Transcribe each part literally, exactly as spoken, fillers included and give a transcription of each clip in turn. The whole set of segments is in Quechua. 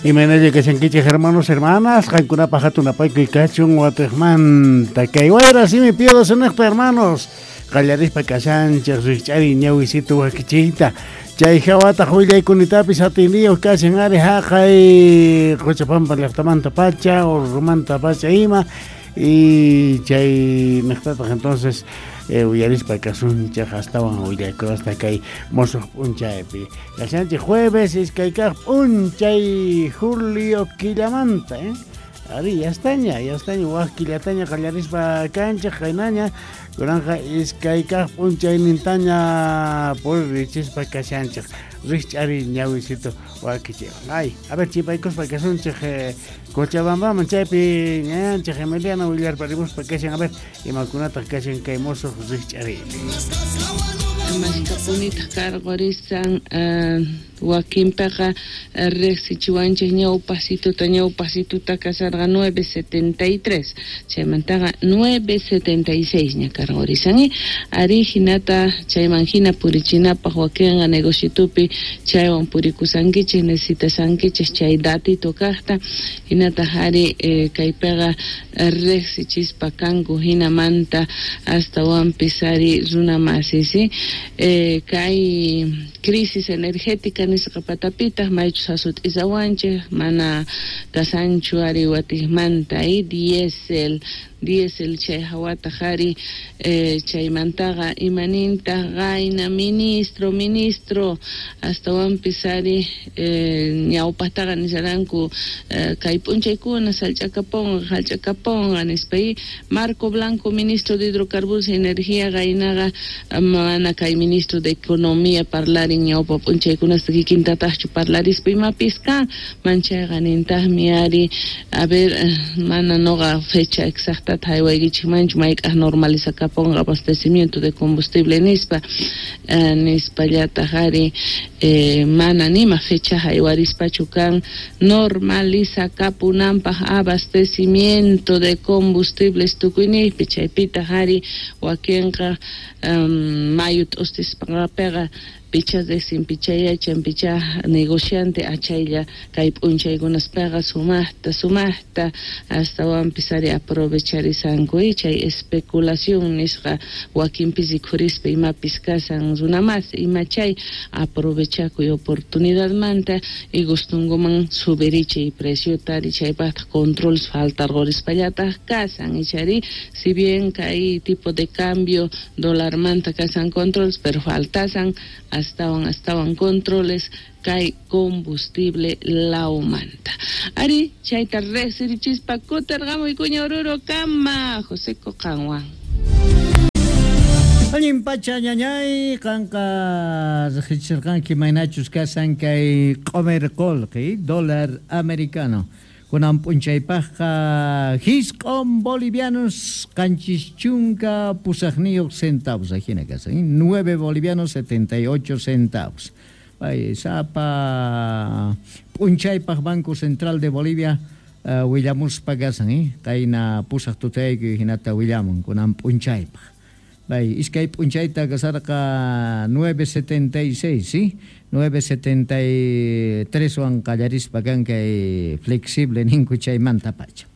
Imaynalla kashankichik hermanos, hermanas, qankunapaq hatun apaykuy kachun watiqmanta kay wayra simi pío suniqta hermanos. Qallarispa kashanchik rikch'ari ñawisitu wakichiyta. Chay hawataq willaykunitapis atiniyuq kashan ari haqay Quchapampa llaqtamanta pacha, Urrumanta pacha ima. Y chay niqtataq entonces eh, uyarispa kasunchik astawan willaykunasta kay musuq p'unchaypi. Kashanchik jueves iskay kaq p'unchay julio killamanta, eh? Ari, ya estaña, ya estaña, wak killataña qallarispa kanchik qaynaña, kunanqa iskay kaq p'unchaynintaña purichispa kashanchik. Rikch'ari ñawisito wakichiwan. Ay, a ver, chipaykuspa kasunchik eh, Cochabambaman chaypi ñayanchik Emiliano willarparimuspa kashan, a ver, imakunataq kashan kay musuq rikch'ariypi. Maskapunitaq karqurisan uh, wakinpiqa riqsichiwanchik ñawpasituta ñawpasituta kasarqa nueve setenta y tres chaymantaqa nueve setenta y seis ña karqurisan ari hinata chayman hina purichinapaq wakinqa negociotupi chaywan purikusankichik necesitasankichik chay datito kaqta hinataq ari eh, kaypiqa riqsichispa kanku hinamanta astawanpis ari runa masisi eh, kay crisis energética nisqa patapitaq maychus asut'isawanchik mana kasanchu ari watiqmanta y diésel diésel chay hawataq ari eh, chaymantaqa imanintaq qayna ministro ministro astawanpis ari eh, ñawpaqtaqa nisharanku eh, kay p'unchaykuna sallch'akapunqa hallch'akapunqa nispa y Marco Blanco ministro de Hidrocarburos y Energía qaynaqa mana kay ministro de Economía parlarin ñawpa p'unchaykunasta kikintataqchu parlarispa imapis kan manchayqa nintaqmi ari a ver mana noqa fecha exacta haywaykichikmanchu mayk'aq normalizakapunqa abastecimiento de combustible nispa eh, nispallataq ari eh, mana nima fecha haywarispachu kan normalizakapunanpaq abastecimiento de combustibles tukuyniypi chaypitaq ari wakinqa um, mayu t'ustispaqa picha desin pichayachan picha negociante achaylla kay p'unchaykunaspaqa sumaqta sumaqta astawanpis ari aprovecharisanku y chay especulación nisqa wakinpis rikhurispa imapis kasan runa mas ima chay aprovechakuy oportunidadmanta y gustunkuman subirichay preciota ari chaypaqtaq controles faltarqurispallataq kasan ichari si bien kay tipo de cambio dólarmanta kasan controles pero faltasan astawan astawan controles kay combustible laumanta. Ari chayta riqsirichispa kutirqamuy kuña Oruro kama José Coqanwan. Allin pacha ñañay qanqa riqsichirqanki maynachus kasan kay q'umir qullqi dólar americano. Kunan p'unchaypaqqa hisq'un bolivianos qanchis chunka pusaqniyuq centavos ajina kasan nueve bolivianos setenta y ocho centavos. Bay sapa p'unchaypaq Banco Central de Bolivia uh, willamuspa kasan eh qayna pusaq tutayku hinata willamun kunan p'unchaypaq. Bay iskay p'unchayta kasarqa nueve setenta y seis, ¿sí? nueve setenta y tres wan qallarispa kan kay flexible ninku chaymanta pacha.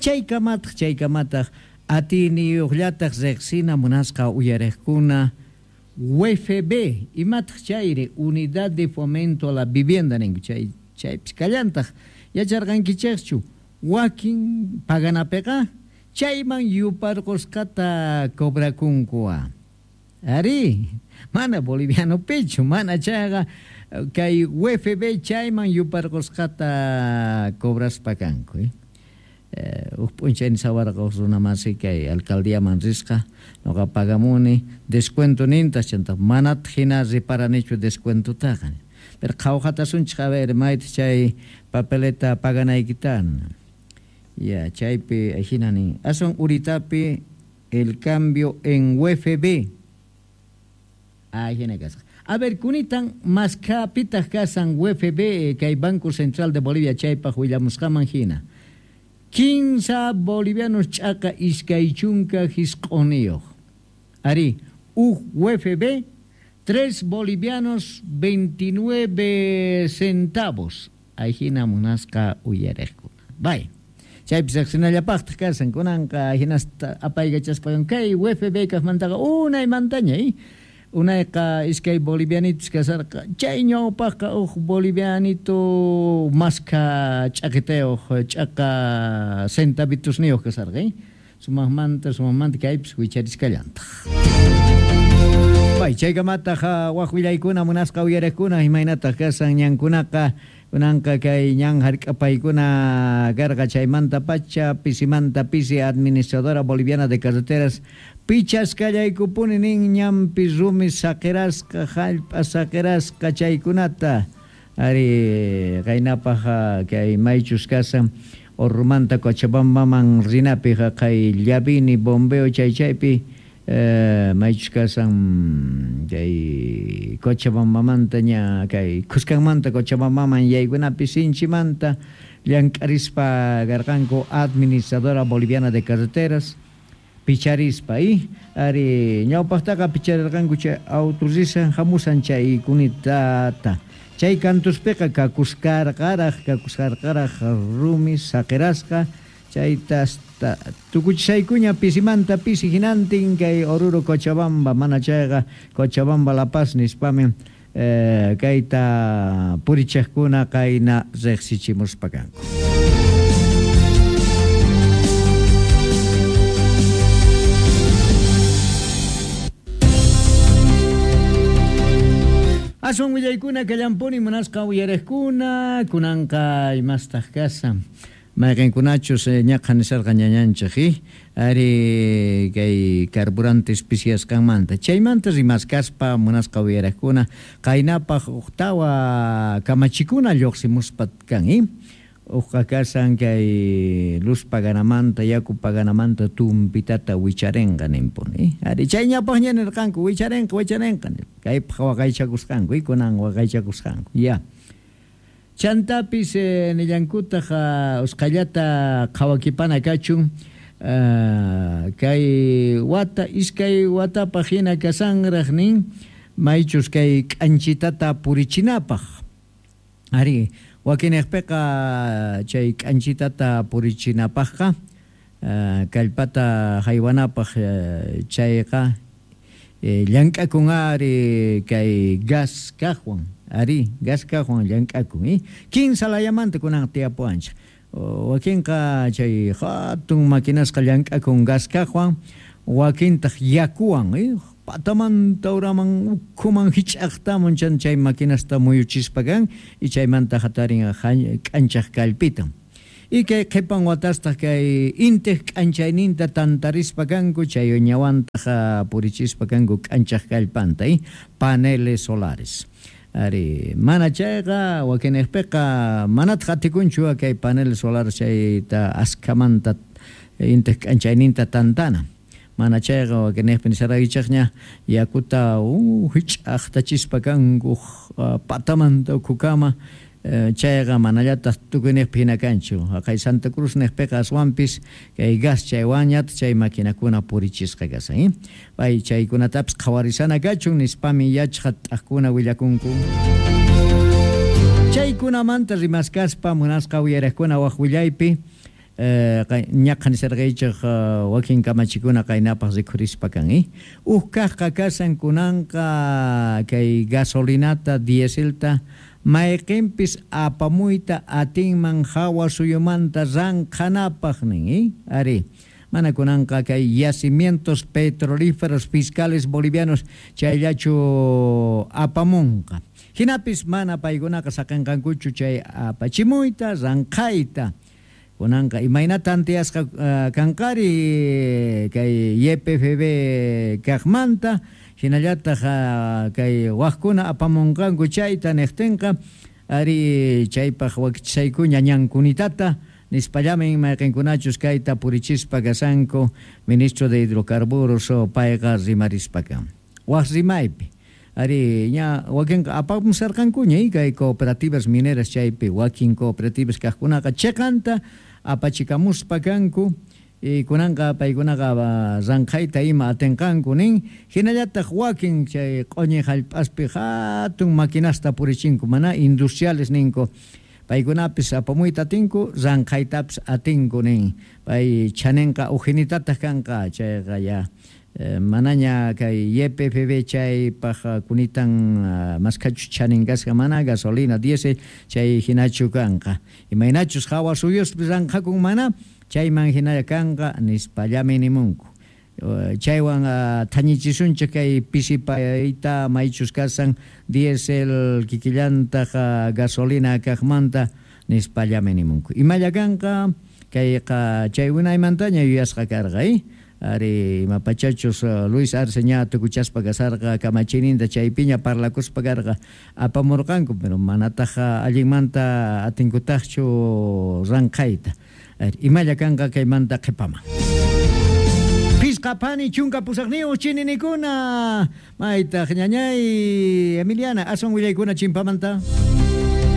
Chaykamataq chaykamataq atiniyuqllataq riqsina munasqa uyariqkuna U F B imataq chayri Unidad de Fomento a la Vivienda ninku chay chaypis kallantaq yacharqankichikchu wakin paganapiqa chayman yuparqusqata cobrakunkuwa. Ari, mana boliviano pecho, mana chayqa kay U F B chayman yuparqusqata cobraspa kanku. Eh? Eh, huk p'unchay sawarqa huk runa masi kay alcaldíaman risqa noqa pagamuni descuento nintas chantaq manataq hina riparanichu descuentotaqa. Pero qhawqatasunchik a ver maytaq chay papeleta paganaykita. Ya, chaypi hina nin. Aswan uritapi el cambio en U F B. Ah, hina kasqa. A ver, kunitan maskapitaq kasan U F B kay Banco Central de Bolivia chaypaq willamusqaman hina. Quince bolivianos ch'aqa iskay chunka hisq'uniyuq. Ari, U F B tres bolivianos veintinueve centavos. Ajina munasqa uyariqkuna. Bay. Chaypis riqsinallapaqtaq kasan kunanqa hinasta apaykachaspa kay U F B kaqmantaqa unaymantaña eh? Unayqa iskay bolivianitos kasarqa chay ñawpaqqa huk bolivianito maska ch'aqitayuq ch'aqa centavitusniyuq kasarqa eh? Sumaqmanta sumaqmanta kaypis wichariskallantaq. Bay chaykamataq waq willaykuna munasqa uyariqkuna imaynataq kasan ñankunaqa kunanqa kay ñan hark'apaykuna karqa chaymanta pacha pisimanta pisi administradora boliviana de carreteras pichasqallaykupuni nin ñanpi rumi saqirasqa hallp'a saqirasqa chaykunata ari qaynapaq kay maychus kasan Orrumanta Cochabambaman rinapi kay Llavini bombeo chay chaypi eh, maychus kasan kay Cochabambamanta ña kay Cuscanmanta Cochabambaman yaykunapi sinchimanta llank'arispa karqanku administradora boliviana de carreteras picharispa y ari ñawpaqtaqa picharirqanku chay autorisan hamusan chay kunitata chay kantuspiqa kakuskarqaraq kakuskarqaraq rumi saqirasqa chayta hasta tukuchisaykuña pisimanta pisi hinantin kay Oruro Cochabamba mana chayqa Cochabamba La Paz nispami eh, kayta purichaqkuna kayna riqsichimuspa kanku. Asun willaykuna kallampuni munasqa uyariqkuna kunanqa imastaq kasan mayqinkunachus ñaqa nisarqa ñañanchik eh? Ari kay carburantes pisiyasqanmanta chaymanta rimaskaspa munasqa uyariqkuna qaynapaq uqtawa kamachikuna lluqsimuspa kan eh? Uqqa kasan kay luz paganamanta yaku paganamanta tumpitata wicharenqa ninpuni ari chay ñapaqña nirqanku wicharenqa wicharenqa kaypaq waqaychakusqanku kunan waqaychakusqanku ya chantapis eh, nillankutaq uh, usqhallata qhawakipana kachun uh, kay wata iskay watapaq hina kasanraq nin maychus kay k'anchitata purichinapaq ari wakinaqpiqa chay k'anchitata purichinapaqqa uh, kallpata haywanapaq uh, chayqa eh, llank'akun ari kay gas kaqwan ari gas kaqwan llank'akun eh? Kinsa layamanta kunan tiyapuwanchik wakinqa chay hatun maquinasqa llank'akun gas kaqwan wakintaq yakuwan eh? Patamanta uraman ukhuman hich'aqtamun chan chay maquinasta muyuchispa kan y chaymanta hatarin k'anchaq kallpitan y kay qhipan watastaq kay intiq k'anchayninta tantarispa kanku chay ñawantaq purichispa kanku k'anchaq kallpanta eh? Paneles solares ari mana chayqa wakinaqpiqa manataq atikunchu kay paneles solares chayta askhamanta intiq k'anchayninta tantana mana chayqa wakinaqpi nisaraykichaqña yakuta uh, hich'aqtachispa kanku uh, patamanta ukhukama uh, chayqa manallataq tukuyniqpi hina kanchu haqay Santa Cruz niqpiqa aswanpis kay gas chaywanñataq chay maquinakuna purichisqa kasan eh? Pay chaykunatapis qhawarisana kachun nispami yachqa t'aqkuna willakunku chaykunamanta rimaskaspa munasqa uyariqkuna waq willaypi ñaqa nisarqaychik wakin kamachikuna qaynapaq rikhurispa kan eh? Huk kaqqa kasan kunanqa kay gasolinata dieselta mayqinpis apamuyta atinman hawa suyumanta ranqhanapaq nin eh? Ari mana kunanqa kay yacimientos petrolíferos fiscales bolivianos chayllachu apamunqa hinapis mana paykunaqa saqinqankuchu chay apachimuyta ranqhayta kunanqa imaynata tantiyasqa uh, kanqari kay Y P F B kaqmanta hinallataq uh, kay waqkuna apamunqanku chayta niqtinqa ari chaypaq wakichisaykuña ñankunitata nispallamin mayqinkunachus kayta purichispa kasanku ministro de hidrocarburos payqa rimarispa kan waq rimaypi ari ña wakinqa apamusarqankuña kay cooperativas mineras chaypi wakin cooperativas kaqkunaqa chiqanta apachikamuspa kanku y kunanqa paykunaqa ranqhayta ima atinqanku nin hinallataq wakin chay q'uñi hallp'aspi hatun maquinasta purichinku mana industriales ninku Paykunapis apamuyta atinku, ranqhaytapis atinku nin. Pay chaninqa ujinitataq kanqa, chayqa ya manaña kay Y P F B chaypaq kunitan maskhachus chanin kasqa mana gasolina diésel chay hinachu kanqa. Imaynachus hawa suyuspi ranqhakun mana chayman hinalla kanqa nispallami nimunku. Chaywan thañichisunchik kay pisipayta maychus kasan diésel kikillantaq gasolina kaqmanta nispallami nimunku. Imalla kanqa kayqa chay unaymantaña yuyasqa karqa, eh? Ari imapachachus Luis Arce ña tukuchaspa kasarqa kamachininta chaypiña parlakuspa karqa apamurqanku, pero manataq allinmanta atinkutaqchu ranqhayta. Imalla kanqa kaymanta qhipaman. Pisqa pani chunka pusaqniyuq chininikuna maytaq ñañay Emiliana aswan willaykuna chimpamanta.